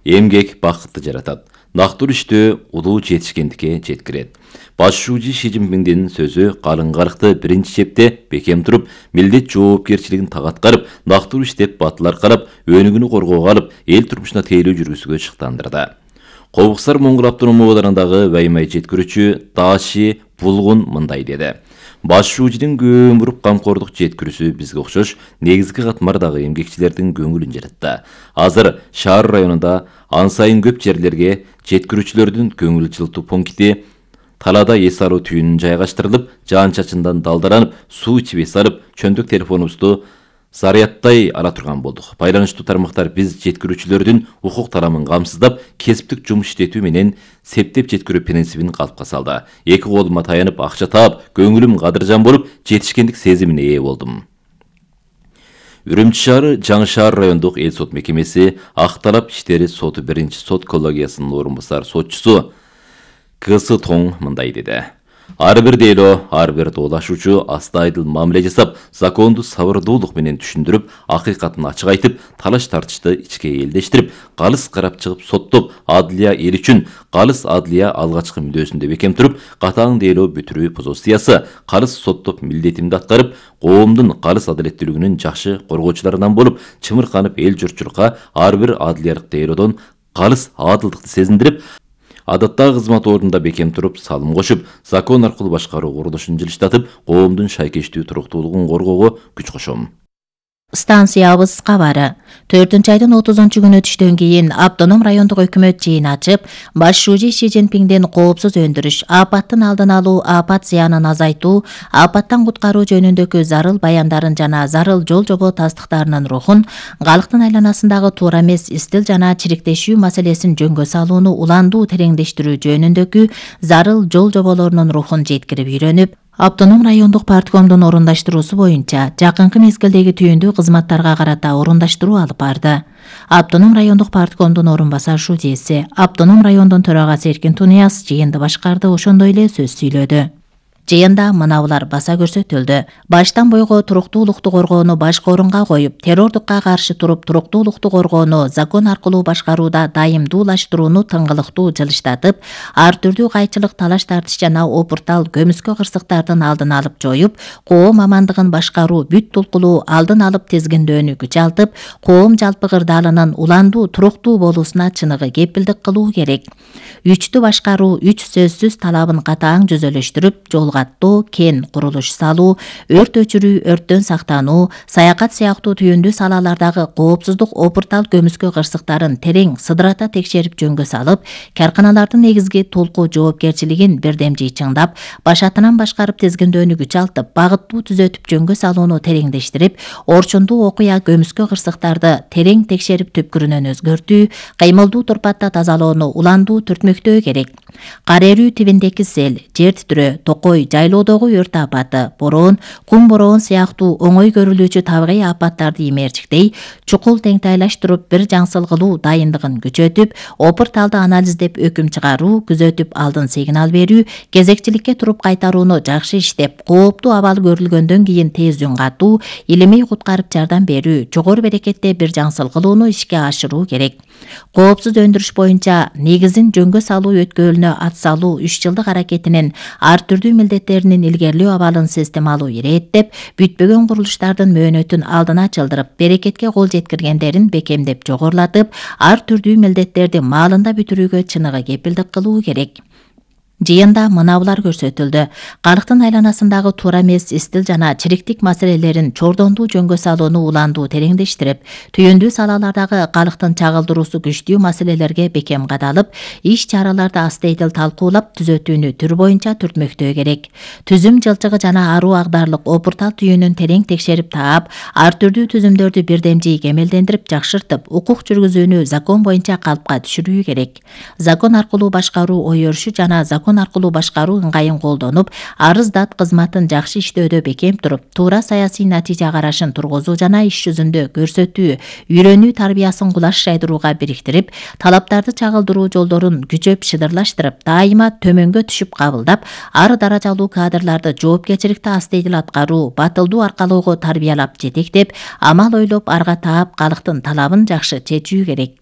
Эмгек бакытты жаратат. Нактур иштөө улуу жетишкендикке жеткирет. Баш шүүжү Ши Цзиньпиндин сөзү калыңгарыкты биринчи чепте бекем туруп, милдет жоопкерчилигин так аткарып, нактур иштеп батыл аркалап, өнүгүүнү коргоого алып, эл турмушуна тейлөө жүргүзүүгө шыктандырды. Кобуксар Моңгол автономия областарындагы Ваймай жеткирүүчү Даши Булгун мындай деди. Баш шүүжүнүн көмүрүп камкордук жеткирүүсү бизге окшош негизги катмардагы эмгекчилердин көңүлүн жаратты. Азыр шаар районунда ан сайын көп жерлерге жеткирүүчүлөрдүн көңүл жылытуу пункти талаада эс алуу түйүнүн жайгаштырылып, жаан-чачындан далдаранып, суу ичип эс алып, чөндүк телефонубузду зарядтай ала турган болдук. Байланыштуу тармактар биз жеткирүүчүлөрдүн укук тарамын камсыздап, кесиптик жумуш иштетүү менен септеп жеткирүү принцибин калыпка салды. Эки колума таянып, акча таап, көңүлүм кадыржан болуп, жетишкендик сезимине ээ болдум. Үрүмчү шаары Жаңы шаар райондук эл сот мекемеси Ак талап иштери соту биринчи сот коллегиясынын орун басар сотчусу КС Тоң мындай деди. Ар бир дейлөө, ар бир доолашуучу астайдыл мамиле жасап, законду сабырдуулук менен түшүндүрүп, акыйкатын ачык айтып, талаш тартышты ичке элдештирип, калыс карап чыгып соттоп, адылия эл үчүн калыс адылия алгачкы мүдөөсүндө бекем туруп, катаң дейлөө бүтүрүү позициясы, калыс соттоп милдетимди аткарып, коомдун калыс адилеттүүлүгүнүн жакшы коргоочуларынан болуп, чымырканып эл журтчулукка ар бир адылиялык дейлөөдөн калыс адылдыкты сезиндирип, адаттагы кызмат ордунда бекем туруп, салым кошуп, закон аркылуу башкаруу курулушун жылыштатып, коомдун шайкештүү туруктуулугун коргоого күч кошом. Станциябыз кабары. 4-айдын 30-күнү түштөн кийин автоном райондук өкмөт жыйын ачып, баш шүүжү Ши Цзиньпиндин коопсуз өндүрүш, апаттын алдын алуу, апат зыянын азайтуу, апаттан куткаруу жөнүндөгү зарыл баяндарын жана зарыл жол жобо тастыктарынын рухун, калктын айланасындагы туура эмес истил жана чириктешүү маселесин жөнгө салууну уландуу тереңдештирүү жөнүндөгү зарыл жол жоболорунун рухун жеткирип үйрөнүп, автоном райондук парткомдун орундаштыруусу боюнча жакынкы мезгилдеги түйүндүү кызматтарга карата орундаштыруу алып барды. Автоном райондук парткомдун орун басар шүүжеси, автоном райондун төрагасы Эркин Тунияз жыйынды башкарды, ошондой эле сөз сүйлөдү. Жыйында мынабулар баса көрсөтүлдү. Баштан бойго туруктуулукту коргоону башкы орунга коюп, террордукка каршы туруп, туруктуулукту коргоону закон аркылуу башкарууда дайымдуулаштырууну тыңгылыктуу жылыштатып, ар түрдүү кайчылык, талаш тартыш жана опуртал көмүскө кырсыктардын алдын алып жоюп, коом амандыгын башкаруу, бүт тулкулуу алдын алып тизгиндөөнү күчалтып, коом жалпы кырдаалынын уландуу, туруктуу болуусуна чыныгы кепилдик кылуу керек. Үчтү башкаруу, үч сөзсүз талабын катаң жүзөлөштүрүп, жолгаттоо, кен курулуш салуу, өрт өчүрүү, өрттөн сактануу, саякат сыяктуу түйүндүү салалардагы коопсуздук, опуртал көмүскө кырсыктарын терең сыдырата текшерип жөнгө салып, карканалардын негизги толку жоопкерчилигин бирдемжий чыңдап, башатынан башкарып тизгиндөөнү күчалтып, багыттуу түзөтүп жөнгө салууну тереңдештирип, орчундуу окуя көмүскө кырсыктарды терең текшерип түпкүрүнөн өзгөртүү, кыймылдуу турпатта тазалоону уландуу түртмөктөө керек. Кар эрүү тибиндеки сел, жер титирөө, токой, жайлоодогу өрт апаты, бороон, кум бороон сыяктуу оңой көрүлүүчү табигый апаттарды имээрчиктей, чукул теңтайлаштырып, бир жаңсыл кылуу дайындыгын күчөтүп, опурталды анализдеп өкүм чыгаруу, күзөтүп алдын сигнал берүү, кезекчиликке туруп кайтарууну жакшы иштеп, кооптуу абал көрүлгөндөн кийин тез үн катуу, илимий куткарып жардам берүү, жогору берекетте бир жаңсыл кылууну ишке ашыруу керек. Коопсуз өндүрүш боюнча негизин жөнгө салуу өткөлүнө ат салуу 3 жылдык аракетинин ар түрдүү милдеттеринин илгерилөө абалын системалуу ирээттеп, бүтпөгөн курулуштардын мөөнөтүн алдына чылдырып, берекетке кол жеткиргендерин бекемдеп жогорулатып, ар түрдүү милдеттерди маалында бүтүрүүгө чыныгы кепилдик кылуу керек. Жыйында мынабулар көрсөтүлдү. Калктын айланасындагы туура эмес истил жана чириктик маселелерин чордондуу жөнгө салууну уландуу тереңдештирип, түйүндүү салалардагы калктын чагылдыруусу күчтүү маселелерге бекем кадалып, иш-чараларды астейдил талкуулап, түзөтүүнү түр боюнча түртмөктөө керек. Түзүм жылчыгы жана аруу агдарлык опуртал түйүнүн терең текшерип таап, ар түрдүү түзүмдөрдү бирдемжий кемелдендирип, жакшыртып, укук жүргүзүүнү закон боюнча калпка түшүрүү керек. Закон аркылуу башкаруу ой өрүшү жана закон аркылуу башкаруу ыңгайын колдонуп, арыз дат кызматын жакшы иштөөдө бекем туруп, туура саясий натыйжа карашын тургузуу жана иш жүзүндө көрсөтүү, үйрөнүү тарбиясын кулаш жайдырууга бириктирип, талаптарды чагылдыруу жолдорун күчөп шыдырлаштырып, дайыма төмөнгө түшүп кабылдап, ар даражалуу кадрларды жоопкерчиликти астейдил аткаруу, батылдуу аркалоого тарбиялап жетектеп, амал ойлоп арга таап, калктын талабын жакшы чечүү керек.